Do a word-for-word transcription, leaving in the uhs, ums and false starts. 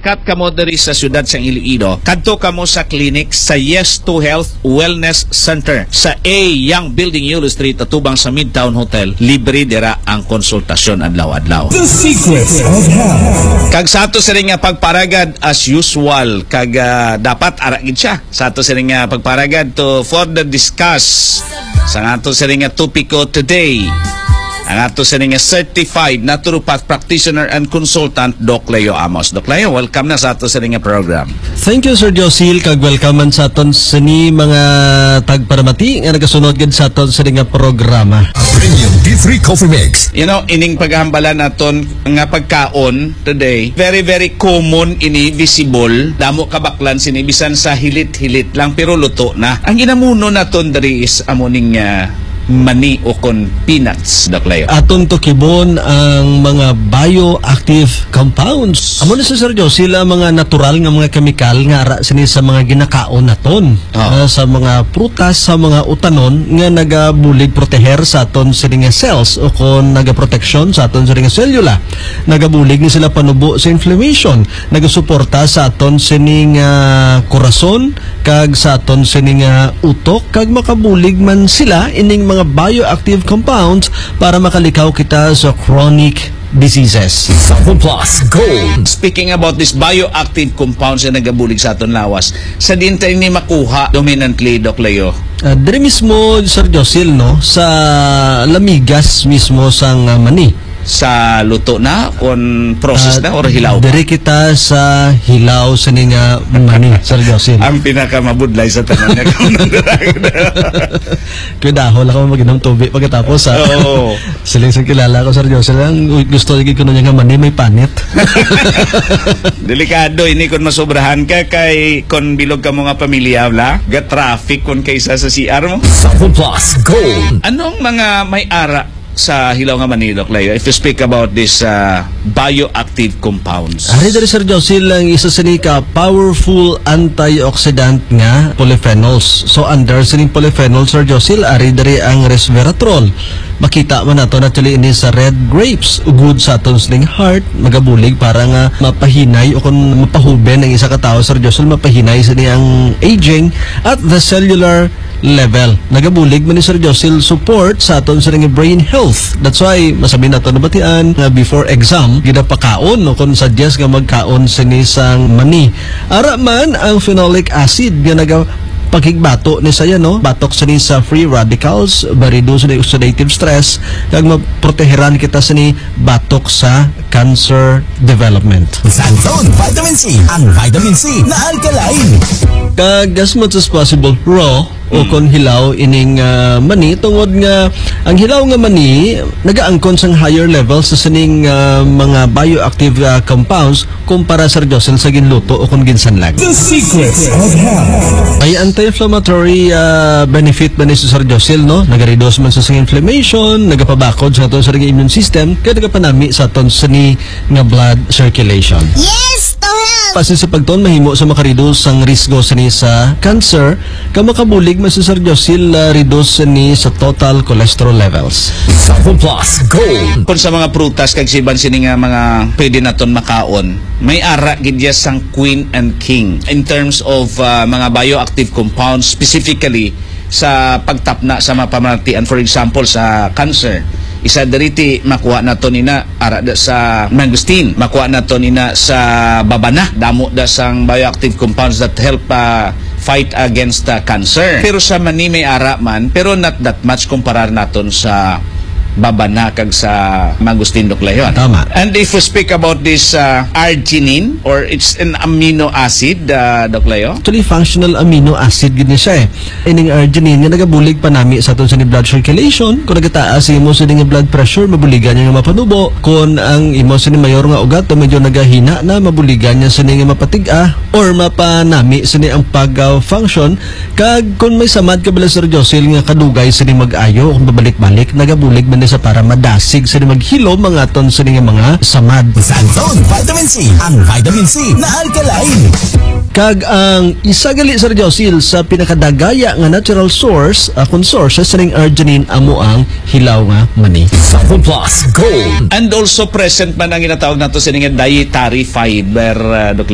Kat kamo diri sa siyudad sang Iloilo, kadto kamo sa clinic sa Yes to Health Wellness Center sa A Young Building, Yulo Street, atubang sa Midtown Hotel. Libre dira ang konsultasyon adlaw-adlaw. The Secrets of Health. Kag sa ato sini nga pagparagad, as usual, kag, ah, dapat ara gid siya. Sa ato sini nga pagparagad to further discuss sa ato sini nga topiko today, ang ato sini nga certified naturopath practitioner and consultant, Doc Leo Amos. Doc Leo, welcome na sa ato sini nga program. Thank you, Sir Josil, kag welcome man sa aton sini mga tagparamati nga nagasunod gid sa aton sini nga programa. Premium D three Coffee Mix. You know, ining paghambalan naton nga pagkaon today, very, very common ini, visible. Damo kabaklan sini, bisan sa hilit-hilit lang, pero luto na. Ang ginamuno naton diri is amo ning, ah, mani o kon peanuts, Doc Leo. Aton tukibon ang mga bioactive compounds. Amo na, Sir Josil, ang mga natural nga mga kemikal nga ara sini sa mga ginakaon naton. Oo. Ah, sa mga prutas, sa mga utanon nga nagabulig proteher sa aton sini nga cells o kon nagaproteksyon sa aton sini nga selula. Nagabulig ni sila panubo sa inflammation, nagasuporta sa aton sini nga korason kag sa aton sini nga utok, kag makabulig man sila ining mga bioactive compounds para makalikaw kita sa chronic diseases. Sample Plus Gold. Speaking about this bioactive compounds nga nagabulig sa aton lawas, sa diin ta ini makuha dominantly, Doc Leo? Ah, diri mismo, Sir Josil, no, sa lamigas mismo sang, ah, mani. Sa luto na, kon process Ah, na, or hilaw pa? Diri kita sa hilaw sini nga mani, Sir Josil. Ang pinakamabudlay sa tanan nga kaunang dalaga. Kuydaho lang ka mag-inom tubig pagkatapos, ha? Oo. Siling sa kilala ko, Sir Josil, ang gusto lagi ko niya nga mani may panit. Delikado ini kon masobrahan ka, kay kon bilog ka mo nga pamilya, wala? Ga-traffic kon kaysa sa C R mo. Sample Plus Gold. Anong mga may ara sa hilaw nga mani, Doc Leo, if you speak about this, uh, bioactive compounds? Ari diri, Sir Josil, ang isa sini ka powerful antioxidant nga polyphenols. So, under sining polyphenols, Sir Josil, ari diri ang resveratrol. Makita man nato, actually, ini sa red grapes. Good sa aton sining heart, magabulig para nga mapahinay o kung mapahuben ang isa ka tawo, Sir Josil, mapahinay sini ang aging at the cellular level. Nagabulig man ni Sir Josil support sa aton sa nga brain health. That's why, masami nato nabatian nga before exam, ginapakaon o kung suggest nga magkaon sini sang mani. Ara man ang phenolic acid nga naga pakigbato ni saya, no? Batok sini sa free radicals, ma-reduce ni oxidative stress, kag maproteheran kita sini batok sa cancer development. Sa Anton, vitamin C. Ang vitamin C na alkaline. Kag as much as possible, raw o kon hilaw ining, ah, mani, tungod nga ang hilaw nga mani nagaangkon sang higher level sa sining, ah, mga bioactive, ah, compounds kumpara, Sir Jocelyn, sa ginluto o kon ginsanlag. The Secrets of Health. May anti-inflammatory, ah, benefit man ni, Sir Jocelyn, no? Nagareduce man sa, sa inflammation, nagapabakod sa aton sa immune system, kaya nagapanami sa aton sini nga blood circulation. Yes, to health. Pasin sa pagtuon, mahimo sa makareduce ang risgo sini sa cancer, ka makabulig man si Sir Josil, ah, reduce ni sa total cholesterol levels. Sample Plus Gold. Kung sa mga prutas kag siban sini nga mga pwede naton makaon, may ara gid ya sang queen and king in terms of, ah, mga bioactive compounds, specifically sa pagtapna sa mga pamanatian, for example, sa cancer. Isa diri ti makuha nato nina ara da sa mangosteen, makuha nato nina sa babana, damo da sang bioactive compounds that help, ah, fight against, ah, cancer. Pero sa mani may ara man, pero not that much kumparar naton sa babana kag sa mangosteen, Doc Leo. Tama. And if we speak about this, ah, arginine, or it's an amino acid, ah, Doc Leo? Actually, functional amino acid gid ni siya, eh. Ining arginine nga nagabulig panami sa aton sini blood circulation. Kung nagataas ang imo sini nga blood pressure, mabuligan niya nga mapanubo. Kung ang imo sini mayor nga ugat o medyo nagahina na, mabuligan niya sini nga mapatig-a or mapanami sini ang pag, ah, function. Kag kung may samad ka bala, Sir Josil, nga kadugay sini mag-ayo, kung babalik-balik, nagabulig man ni sa para madasig sini, maghilom ang aton sini nga mga samad. Sa Anton, vitamin C, ang vitamin C na alkaline. Kag ang isa gali, Sir Josil, sa pinakadagaya nga natural source, ah, kun source, sa sining arginine amo ang hilaw nga mani. Sample Plus Gold. And also present man ang ginatawag nato sini nga dietary fiber, ah, Doc